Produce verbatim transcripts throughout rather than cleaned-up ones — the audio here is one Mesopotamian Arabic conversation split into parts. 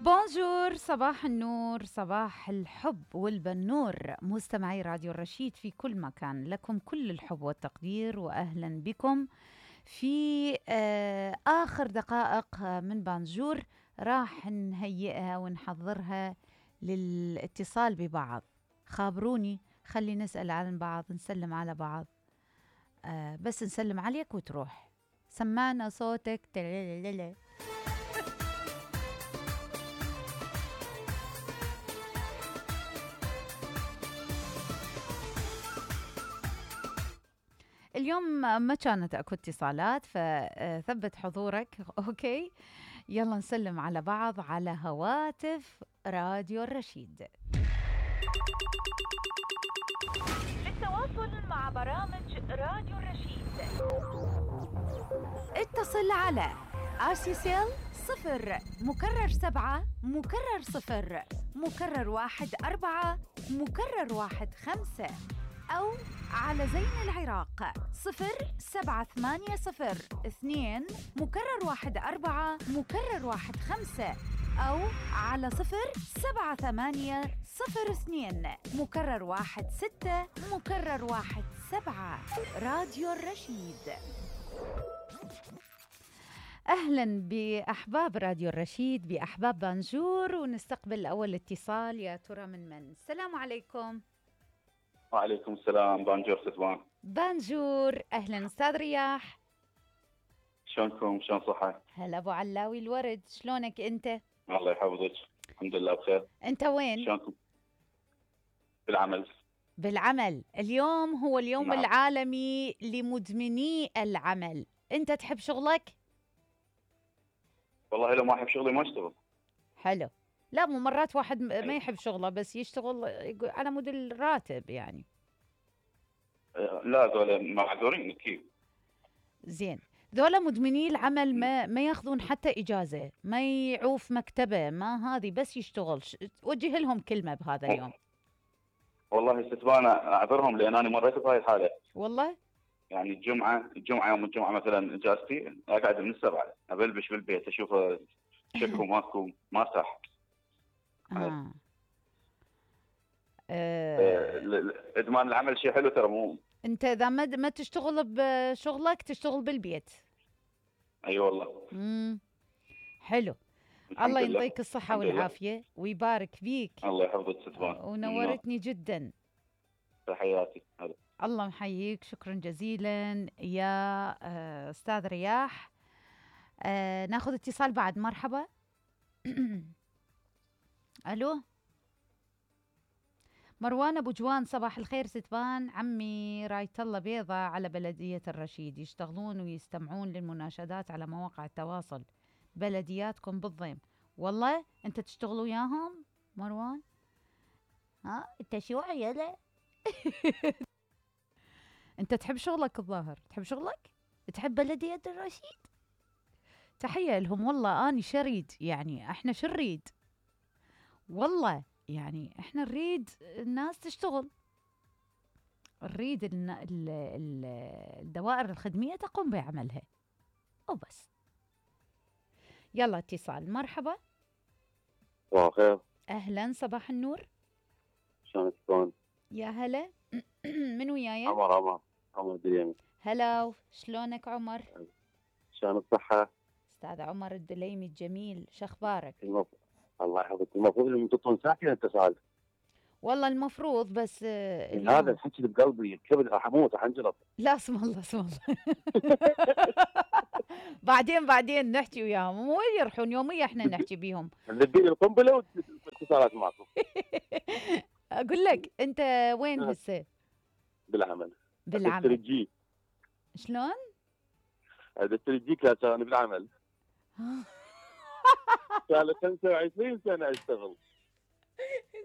بونجور، صباح النور، صباح الحب والبنور، مستمعي راديو الرشيد في كل مكان، لكم كل الحب والتقدير وأهلا بكم في آه آخر دقائق من بانجور. راح نهيئها ونحضرها للاتصال ببعض. خابروني، خلي نسأل عن بعض، نسلم على بعض، آه بس نسلم عليك وتروح. سمعنا صوتك. تلالالالال. اليوم ما كانت اكو اتصالات، فثبت حضورك. اوكي، يلا نسلم على بعض على هواتف راديو الرشيد. للتواصل مع برامج راديو الرشيد اتصل على آسيسيل صفر مكرر سبعة مكرر صفر مكرر واحد أربعة مكرر واحد خمسة، أو على زين العراق صفر سبعة ثمانية صفر اثنين مكرر واحد أربعة مكرر واحد خمسة، أو على صفر سبعة ثمانية صفر اثنين مكرر واحد ستة مكرر واحد سبعة. راديو الرشيد. أهلا بأحباب راديو الرشيد، بأحباب بانجور، ونستقبل أول اتصال. يا ترى من من؟ السلام عليكم. وعليكم السلام. بانجور ستوان. بانجور، أهلا أستاذ رياح. شلونكم؟ شلون صحة؟ هلا أبو علاوي الورد، شلونك أنت؟ الله يحفظك، الحمد لله بخير. أنت وين؟ شلونكم؟ بالعمل. بالعمل. اليوم هو اليوم نعم. العالمي لمدمني العمل. أنت تحب شغلك؟ والله لو ما أحب شغلي ما أشتغل. حلو. لا، مو مرات واحد ما يحب شغله بس يشتغل على مود الراتب يعني. لا، ذولا معذورين كيف. زين، ذولا مدمني العمل ما ما ياخذون حتى إجازة، ما يعوف مكتبه، ما هذه، بس يشتغل. وجه لهم كلمة بهذا اليوم. والله ستوان أعذرهم لأن أنا مريت بهاي الحالة. والله؟ يعني الجمعة الجمعة يوم الجمعة مثلا إجازتي أقعد من السبعة أبلبش بالبيت أشوف شكو ماكو ما صح. آه. أه... إدمان العمل شيء حلو ترى. مو أنت إذا ما ما تشتغل بشغلك تشتغل بالبيت. أي أيوة والله. امم حلو. الله يعطيك الصحة والعافية ويبارك بيك. الله يحفظك ستوان. ونورتني جدا. تحياتي. هلا. الله محييك، شكرا جزيلا يا أستاذ رياح. أه ناخذ اتصال بعد. مرحبا. ألو مروان أبو جوان، صباح الخير ستوان. عمي رايت الله بيضة على بلدية الرشيد، يشتغلون ويستمعون للمناشدات على مواقع التواصل. بلدياتكم بالضيم. والله أنت تشتغلوا وياهم مروان؟ ها أنت شو عيلة؟ أنت تحب شغلك الظاهر، تحب شغلك؟ تحب بلدية الرشيد؟ تحية لهم والله. أنا شريد يعني، إحنا شو نريد؟ والله يعني إحنا نريد الناس تشتغل، نريد الدوائر الخدمية تقوم بعملها وبس. يلا اتصال. مرحبا. صباح الخير. أهلا، صباح النور. شلونك تكون؟ يا هلا. من وياي؟ عمر. عمر عمر الدليمي. هلا، شلونك عمر؟ شلون الصحة؟ أستاذ عمر الدليمي الجميل، شخبارك؟ المف... الله يحفظك. المفروض انهم ينطون ساعتين اتصال. والله المفروض، بس اليوم... هذا الحكي اللي بقلبي الكبد راح اموت راح انجلط. لا اسم الله اسم الله. بعدين بعدين نحكي وياهم، مو يرحون يوميا احنا نحكي بيهم. نبي القنبله واتصالات معكم. اقول لك انت وين هسه؟ بالعمل. بالعمل. الجي. شلون؟ هذا الترجيك لا كان بالعمل. صار خمسة وعشرين سنة اشتغل.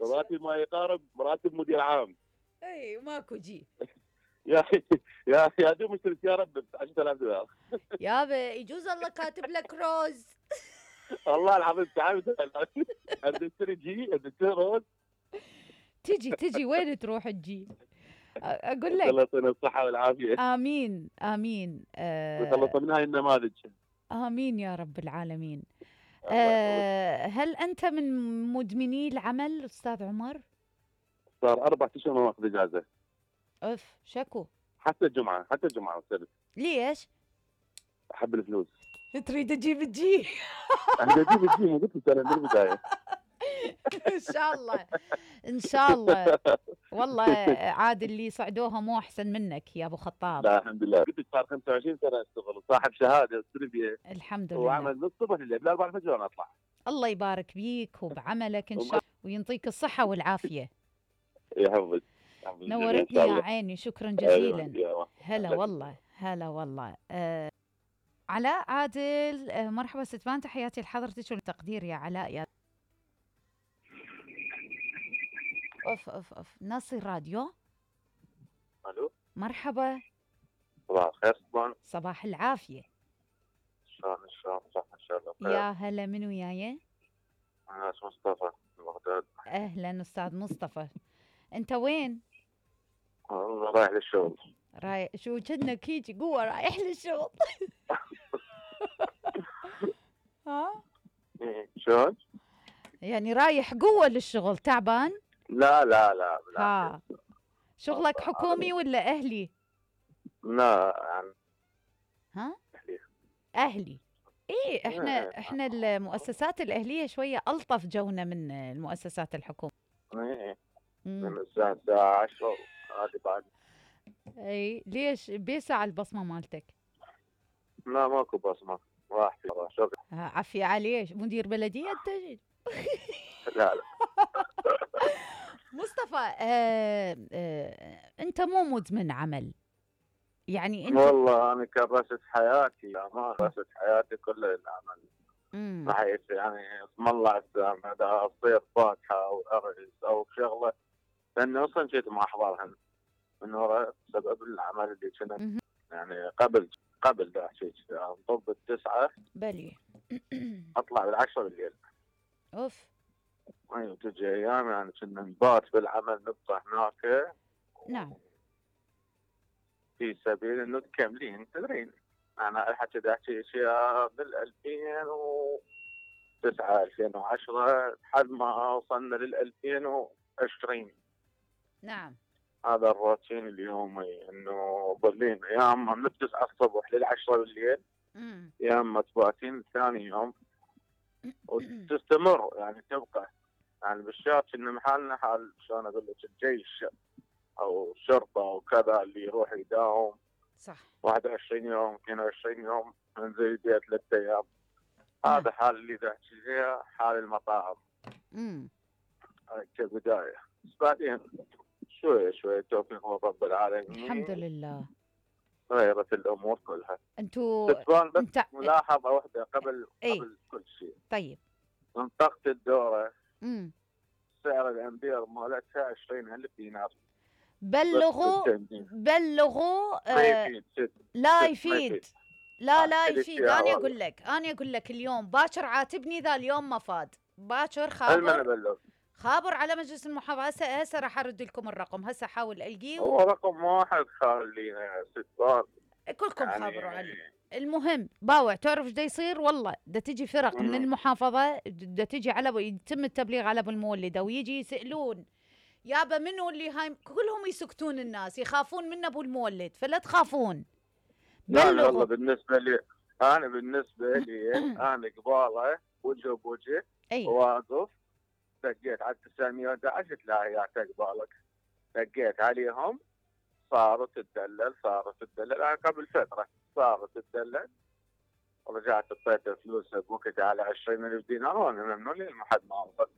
راتب ما يقارب راتب مدير عام. اي ماكو جي. يا يا يا دوب اشتري سيارة ب عشرة آلاف دولار. يابا يجوز الله كاتب لك روز. والله العظيم تعبت. ابي اشتري جي، ابي اشتري روز. تجي تجي وين تروح الجي؟ اقول لك الله يعطينا الصحة والعافية. امين امين. وخلص من هاي النماذج. امين يا رب العالمين. آه هل أنت من مدمني العمل أستاذ عمر؟ صار اربع اشهر ما اخذ اجازه. أف شكو. حتى الجمعه حتى الجمعه والسبت. ليش؟ احب الفلوس. تريد تجيب تجي. انا اجيب الجيم وقلت لك انا من البدايه. إن شاء الله إن شاء الله. والله عاد اللي صعدوها مو أحسن منك يا أبو خطاب. لا الحمد لله، قلت لك صار خمسة وعشرين سنه اشتغل وصاحب شهاده تربيه. الحمد لله. وعمل من الصبح لليل لا أربعة الفجر وانا اطلع. الله يبارك بيك وبعملك إن شاء الله وينطيك الصحة والعافية. يحفظك. نورتني يا عيني، شكرا جزيلا. هلا والله هلا والله. آه علاء عادل، آه مرحبا ستبان، تحياتي لحضرتك والتقدير يا علاء. يا اوف اوف اوف ناصر راديو. الو مرحبا. صباح الخير ستبان. صباح العافية. شلون شلون صح ان شاء الله بخير. يا هلا، من وياي؟ انا اسمي مصطفى من بغداد. اهلا استاذ مصطفى، انت وين؟ والله رايح للشغل. رايح شو كأنك هيجي قوة رايح للشغل. ها؟ شلون؟ يعني رايح قوة للشغل، تعبان؟ لا لا لا لا. ها شغلك حكومي ولا أهلي؟ لا يعني ها؟ أهلي. أهلي. إيه إحنا إحنا المؤسسات الأهلية شوية ألطف جونا من المؤسسات الحكومية. إيه مم. من الساعة الساعة عشرة هذه بعد. أي ليش بيسع البصمة مالتك؟ لا ماكو بصمة، راح في شغل. ها، عافية عليك، مدير بلدية أنت؟ لا لا. مصطفى، آه آه أنت مو مدمن عمل يعني أنت؟ والله أنا كرست حياتي ما كرست حياتي كلها للعمل. مم. بحيث يعني اسم الله السامع إذا أصير فاتحة أو أرز أو شغلة، لأني أصلا كنت ما أحضرها من وراء سبب العمل اللي كنت مهم. يعني قبل قبل ذا شيء يعني طب التسعة بلي. أطلع بالعشرة بالليل. أوف. أيوة تجي أيام يعني كنا نبات بالعمل نبقى هناك. نعم. في سبيل إنه تكملين تدرين. أنا الحكي دا أحكي أشياء بال ألفين وتسعة ألفين وعشرة لحد ما وصلنا لل ألفين وعشرين. نعم. هذا الروتين اليومي إنه ظلين يا أما من التسعة الصبح للعشرة بالليل مم. يا أما تباتين ثاني يوم وتستمر يعني تبقى يعني بالشارع إن محلنا حال شلون أقول لك الجيش أو الشرطة وكذا اللي يروح يداوم صح. واحد وعشرين يوم اثنين وعشرين يوم ننزل بيت ثلاث أيام. هذا حال اللي ذاكي فيها حال المطاعم. امم كبداية بس بعدين شوية شوية توفيق من رب العالمين الحمد لله غيرت الأمور كلها. انتوا تتبان بس انت ملاحظة واحدة قبل ايه؟ قبل كل شيء. طيب. منطقة الدورة امم سعر الأمبير مالتها عشرين ألف دينار. بلغوا بلغوا ما آه يفيد ست. لا ما يفيد. لا لا آه، يفيد. الاشتراء انا والله. اقول لك انا اقول لك اليوم باكر عاتبني ذا اليوم ما فاد. باكر المن خابر أبلغ. خابر على مجلس المحافظة. هسه هسه راح ارد لكم الرقم، هسه احاول القيه هو رقم واحد خلينا ستان. كلكم يعني خابروا عليه. المهم باوع تعرف ايش دا يصير؟ والله دا تجي فرق من مم. المحافظة دا تجي على ب- يتم التبليغ على ابو المولدة ويجي يسألون يابا منو اللي هاي، كلهم يسكتون الناس يخافون من ابو المولد، فلا تخافون. لا والله بلغوا. بالنسبة لي أنا بالنسبة لي أنا قباله وجه بوجه اي واقف دقيت على تسعمية وأحد عشر تلاقي قبالك دقيت عليهم صارت تدلل صارت تدلل أنا قبل فترة صارت تدلل رجعت اعطيته فلوس بوقت على عشرين ألف دينار وأنا ممنون لي ما حد ما وصل.